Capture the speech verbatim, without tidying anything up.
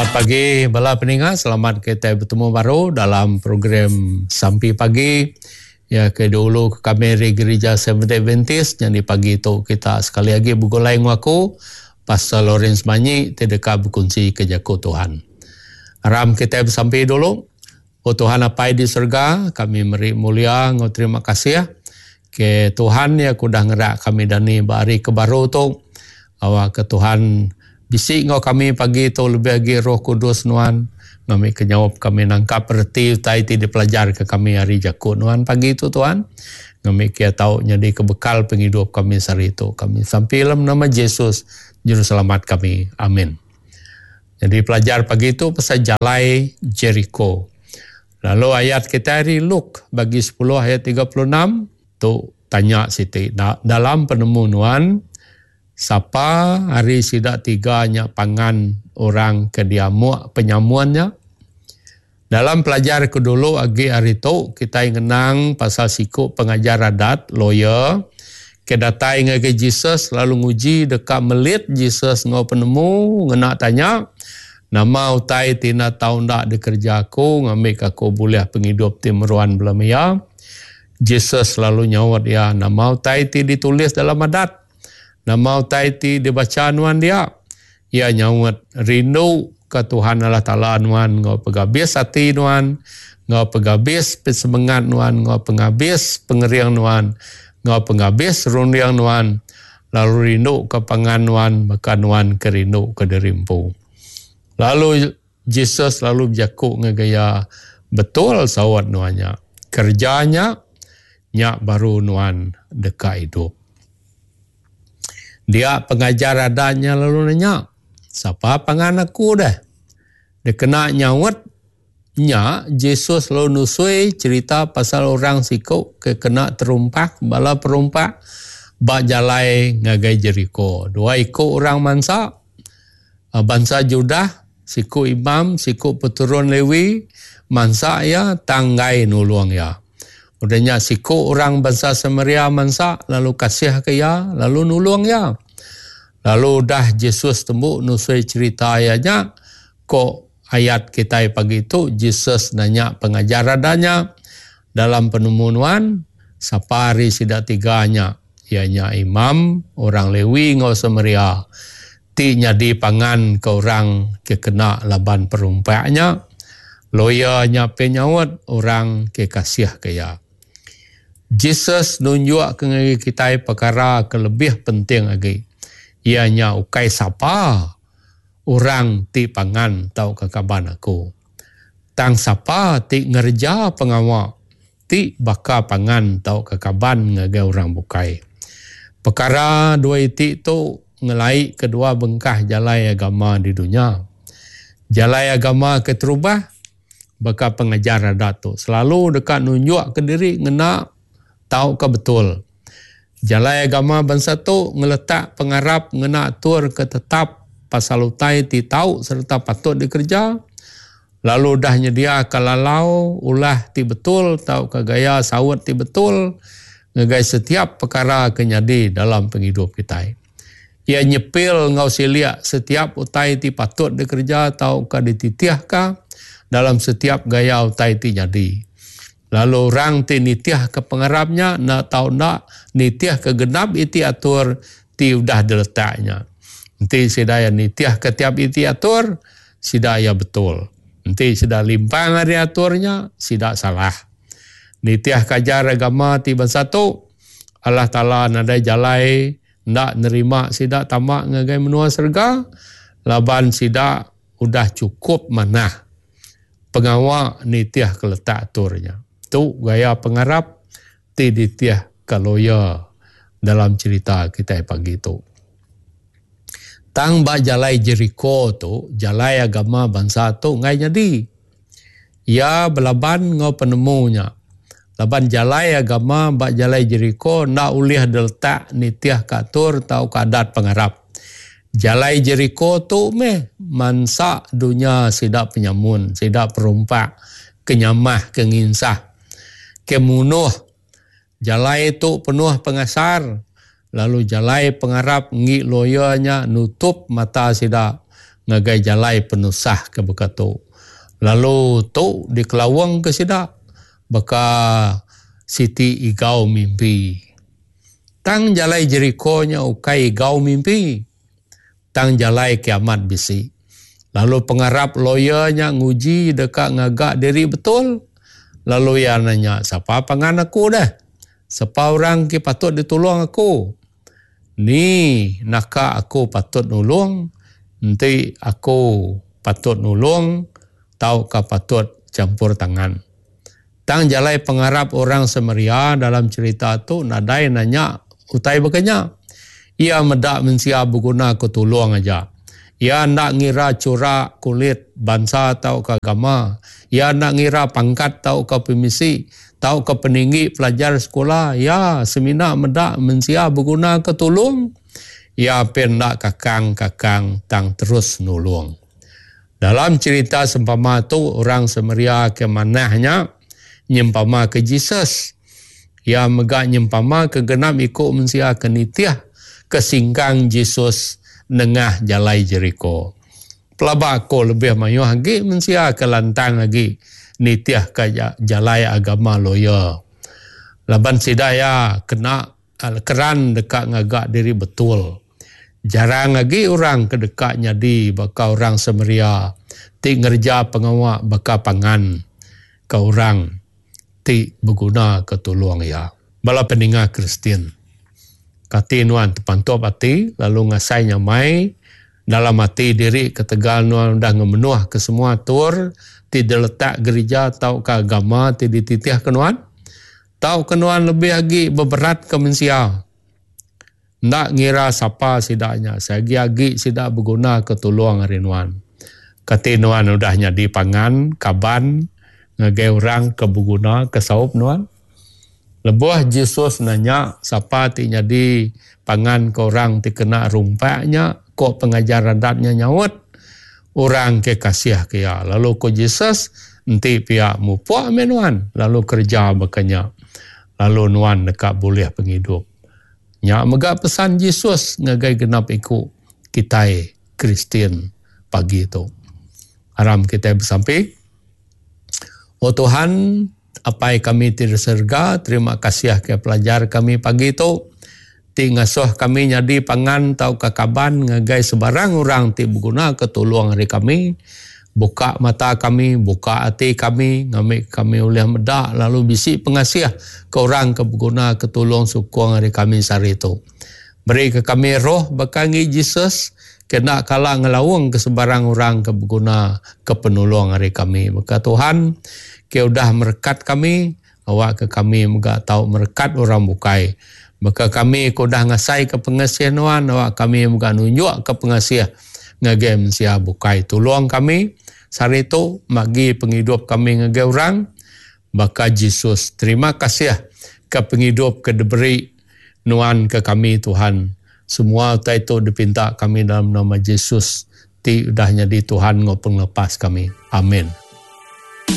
Selamat pagi bala peninga, selamat kitai betemu baru dalam program Sampi Pagi ya ke dulu ke kami ari Gereja Seventh Adventist. Nyadi pagi tu kita sekali agi begulai enggau aku Pastor Lawrence Manyi ti deka bekunsi ke jaku Tuhan. Aram kitai besampi dulu. O Tuhan Apai di surga, kami meri mulia enggau terima kasih ke Tuhan ya ke udah ngerak kami dani ba hari ke baru tu. Awak ke Tuhan bisi enggau kami pagi tu, lebih agi Roh Kudus Nuan ngambi ke nyaup kami nangkap reti utai ti dipelajar ke kami ari jaku Nuan pagi tu Tuhan. Ngambi ke tau nyadi ke bekal pengidup kami sehari tu. Kami sampi dalam nama Jesus Juruselamat kami. Amin. Jadi pelajar pagi tu pasal jalai Jericho. Lalu ayat kita hari Luke bagi sepuluh ayat tiga puluh enam tu tanya siti. Da-, dalam penemu Nuan, sapa hari sida tiga nya pangan orang ke diamuk penyamuannya? Dalam pelajar ke dulu agi hari tu kita ngenang pasal siku pengajar adat lawyer ke datai ngagai Jesus lalu nguji deka melit Jesus ngau penemu ngena tanya nama utai ti na tau ndak dikerja aku ngambi ke aku boleh pengidup ti meruan belama. Jesus lalu nyaut ia nama utai ti ditulis dalam adat, nama utai ti dibaca nuan dia. Ia nyaut rindu ke Tuhan Allah Taala nuan ngau pegabis hati nuan, ngau pegabis semangat nuan, ngau pengabis pengering nuan, ngau pengabis runding nuan, lalu rindu ke pangan nuan maka nuan ke rindu ke diri empu. Lalu Jesus lalu berjakuk ngagai ia, betul sawat nuannya, kerjanya nyak baru nuan deka hidup. Dia pengajar adanya lalu nanya, siapa pangan aku dah? Dia kena nyaut nya Jesus lalu nusui cerita pasal orang siko ke kena terumpak bala perumpak ba jalai ngagai Jericho. Dua iko orang mansa, bangsa Judah, siku imam, siku peturun Lewi, mansa ya tanggai nulung ya. Udahnya siku orang bangsa Samaria mansa lalu kasih ke ya, lalu nulung ya. Lalu dah Jesus tembuk nusui cerita ayatnya, kok ayat kita pagi tu Jesus nanya pengajar adanya dalam penemuan sapa hari sida tiganya, ianya imam, orang Lewi ngau Samaria ti nyadi pangan ke orang ke kena laban perumpaknya. Lawyer nya penyaut orang ke kasih ke ya. Jesus nunjuk ke ngagai kita perkara ke lebih penting lagi. Ianya ukai sapa orang ti pangan tau ke kaban aku. Tang sapa ti ngerja pengawa ti baka pangan tau ke kaban ngagai orang bukai. Perkara dua iti tu ngelai kedua bengkah jalai agama di dunia. Jalai agama ke terubah baka pengajar adat tu selalu dekat nunjuk ke diri ngena tau ke betul. Jalai agama bangsa tu ngeletak pengarap ngena atur ke tetap pasal utai ti tau serta patut dikerja, lalu dah nyedia ke lalau ulah ti betul tau ke gaya saut ti betul ngagai setiap perkara ke nyadi dalam penghidup kita. Ia nyepil ngau siliak setiap utai ti patut dikerja tau ke dititiahka dalam setiap gaya utai ti nyadi. Lalu orang ti nitiah ke pengarapnya nak tau nak nitiah ke genap iti atur ti udah diletaknya. Enti sida nitiah ke tiap iti atur, sida ya betul. Enti sida limpang ari aturnya, sida salah. Nitiah kajar agama ti bangsa tu, Allah Taala nadai jalai ndak nerima sida tamak ngagai menua serga, laban sida udah cukup manah pengawa nitiah ke letak aturnya. Tu gaya pengarap ti ditiah ke lawyer dalam cerita kita pagi tu. Tang ba jalai Jericho tu, jalai agama bangsa tu ngai nyadi. Ia belaban ngau penemunya. Laban jalai agama ba jalai Jericho ndak ulih diletak nitiah ke atur tau ke adat pengarap. Jalai Jericho tu meh mansa dunia sida penyamun, sida perumpak, kenyamah, kenginsah, kemunuh. Jalai tu penuh pengasar, lalu jalai pengarap ngi lawyernya nutup mata sida ngagai jalai penusah ke baka tu. Lalu tu dikelawang ke sida baka siti igau mimpi. Tang jalai Jeriko nya ukai igau mimpi. Tang jalai kiamat bisi. Lalu pengarap lawyer nya nguji deka ngaga diri betul. Lalu ia nanya, siapa pangan aku dah? Siapa orang ke patut ditolong aku? Ni naka aku patut nulung? Enti aku patut nulung, tau ka patut campur tangan. Tang jalai pengarap orang Samaria dalam cerita tu nadai nanya utai bekenya. Ia medak mensia berguna ke tulung aja. Ia nak ngira corak kulit bangsa atau ke agama. Ia nak ngira pangkat atau ke permisi, atau ke peninggi pelajar sekolah. Ia semina medak mensia berguna ke tulung. Ia pen nak kakang-kakang tang terus nulung. Dalam cerita sempama tu orang Samaria ke manahnya nyempama ke Jesus. Ia megak nyempama ke genap ikut mensia ke nitiah ke singkang Jesus nengah jalai Jeriko. Pelaba aku lebih mayuh lagi mensia ke lantang lagi nitiah ke jalai agama lawyer. Laban sidaya kena keran dekat ngagak diri betul. Jarang lagi orang ke dekat nyadi baka orang Samaria ti ngerja pengawak baka pangan ke orang ti berguna ke tolong ia. Bala peninga Kristian. Kati nuan terpantup hati lalu ngasai nyamai dalam hati diri ketegal nuan dah ngemenuh ke semua tur ti diletak gereja tau ke agama ti dititih ke nuan. Tau ke nuan lebih lagi beberat ke mensia. Ndak ngira siapa sidaknya, seagi-agi sidak berguna ke tolong hari nuan. Kati nuan udah nyadi pangan, kaban, ngagai orang ke berguna ke saup nuan. Lebuh Jesus nanya siapa ti nyadi pangan ke orang ti kena rumpaknya, kok pengajar adatnya nyaut orang ke kasih ke ya. Lalu ko Jesus enti pihak mupuk menuan lalu kerja bekenya. Lalu nuan dekat boleh penghidup. Nya mega pesan Jesus ngagai genap iku kitai Kristian pagi tu. Aram kita bersampi. Oh Tuhan, apai kami ti di surga, terima kasih ke pelajar kami pagi tu. Ti ngasuh kami nyadi pangan tau ke kaban ngagai sebarang orang ti berguna ke tolong hari kami. Buka mata kami, buka hati kami, ngambil kami oleh medak lalu bisi pengasih ke orang ke berguna ke tolong sukong hari kami sehari tu. Beri ke kami roh bekangi Jesus, kena kala ngelawang ke sebarang orang ke berguna ke penolong hari kami. Maka Tuhan, ke udah merekat kami, awak ke kami moga tau merekat orang bukai. Maka kami ke udah ngasai ke pengasih nuan, awak kami moga nunjuk ke pengasih ngagai mensia bukai. Tolong kami sehari tu magi penghidup kami ngagai orang baka Jesus. Terima kasih ke penghidup ke diberi nuan ke kami Tuhan. Semua utai tu dipinta kami dalam nama Jesus ti udah nyadi Tuhan ngau penglepas kami. Amin.